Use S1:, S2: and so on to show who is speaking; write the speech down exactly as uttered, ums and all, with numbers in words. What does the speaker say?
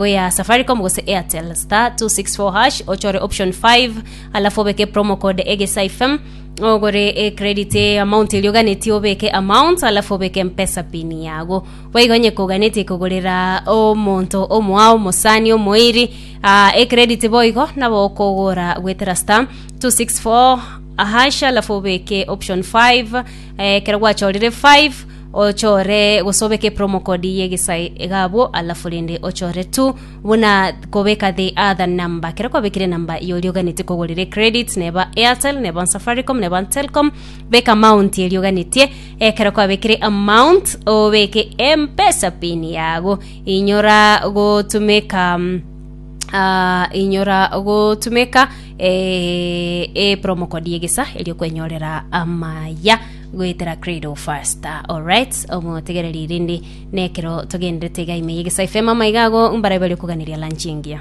S1: Ya Safaricom gose Airtel, star two six four hash, ochore option five, alafu obeke promo code Egesa F M, ogore e credit amount erio oganetie, obeke amount, alafu obeke Mpesa PIN yago. Boigo onye koganetie kogorera omonto omoao, omosani, omoiri uh, e credit, boigo nabo okogora gwetera star two six four hash, alafu obeke option five. eh, kero gwachorire five, ochore gose obeke promo code yegesai egabwo, alafu rende ochore two buna kobeka the other number. Kero kwabekire namba yori oganete kogorera credit, neba Airtel, neba Safaricom, neba Telcom, beka amount eri oganetie. Ekero kwabekire amount, obeke Mpesa PIN yago. Inyora gotumeka mm, uh, inyora gotumeka eh, e promo code yegesa erio kwenyorera amaya goetera Credo Faster. Alright, omotegereri, rindi nekero togenderete iga ime yegesa F M, amaiga ago mbara bari okuganiria lunch engiya.